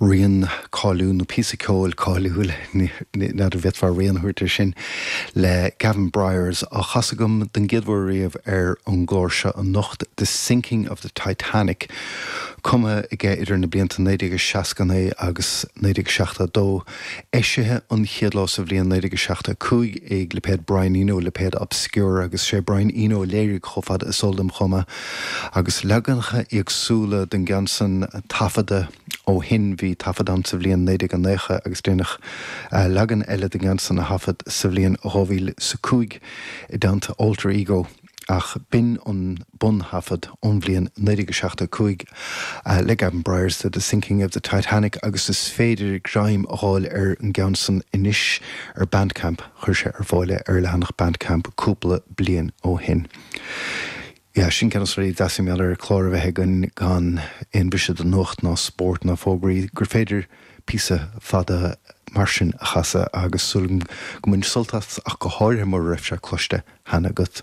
Rian cáiliúil, nó píosa ceoil cáiliúil, n'fheadar an bhféadfá rian a thabhairt air sin, le Gavin Bryars á chasadh agam don gcéad uair riamh ar an gclár seo anocht, The Sinking of the Titanic, cumtha aige idir na blianta 1969 agus 1972, eisithe an chéad lá sa bhliain 1975 ag lipéad Brian Eno, lipéad Obscura, agus sé Brian Eno a léirigh chomh fada is eol dom chomh maith. Agus leaganacha éagsúla den gceann san taifeadta ó shin, bhí taifead ann sa bhliain 1990 agus déanadh leagan eile den gceann san a thaifead sa bhliain 2005 i dteannta Alter Ego, ach b'in an bun-thaifead ón bhliain 1975 le Gavin Bryars de The Sinking of the Titanic agus is féidir greim a dh'fháil ar an gceann san anois ar Bandcamp, chuir sé ar fáil é ar a leathanach Bandcamp cúpla bliain ó shin. Yeah, sin ceann de na rudaí deasa mar gheall ar chlár a bheith againn gan aon bhriseadh do nuacht ná spórt ná fógraí, gur féidir píosa fada mar sin a chasadh agus súil agam gur bhain sult as ach go háirithe mura raibh sé cloiste cheana agat.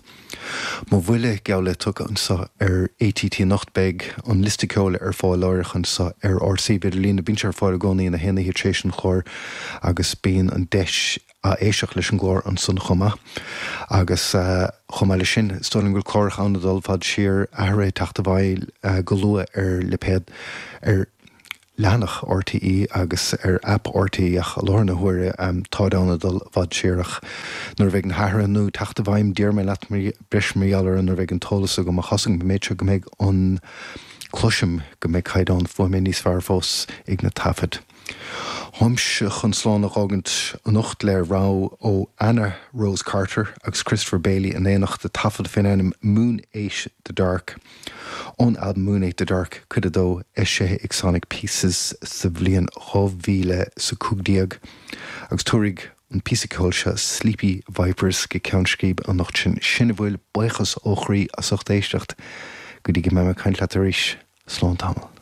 Mo bhuille geall le tugtha anseo ar ATT anocht beidh an liosta ceoil ar fáil láithreach anseo ar ár suíomh idirlín. Bíonn sé ar fáil i gcónaí na haon oíche tar éis an chláir agus bíonn an deis a éisteacht leis an gclár ansan chomh maith. Agus chomh maith leis sin, is dóigh liom go bhfuil cláracha ann ag dul i bhfad siar, athruithe ag teacht i bhfeidhm go luath ar lipéad, ar leathanach RTÉ agus ar aip RTÉ ach i láthair na huaire táid ann ag dul i bhfad siar ach nuair a bheidh na hathruithe nua ag teacht i bhfeidhm déarfaidh mé leat breis mar gheall orthu nuair a bheidh an t-eolas agam ach tá's agam an méid seo go mbeidh an cloisim go mbeidh caighdeán fuaime níos fearr fós ag na taifid. Táimse chun slán a dh'fhágaint anocht le rogha ó Anna Rose Carter agus Christopher Bailey in éineacht, taifead faoin ainm Moon Ate the Dark, ón albam Moon Ate the Dark, Cuid 2, eisithe ag Sonic Pieces sa bhliain 2015, agus tabharfaidh an píosa ceoil seo Sleepy Vipers go ceann scríbe anocht sin. Sin a bhfuil, buíochas ó chroí as ucht éisteacht. Go dtí go mbeidh mé ag caint leat arís, slán tamall.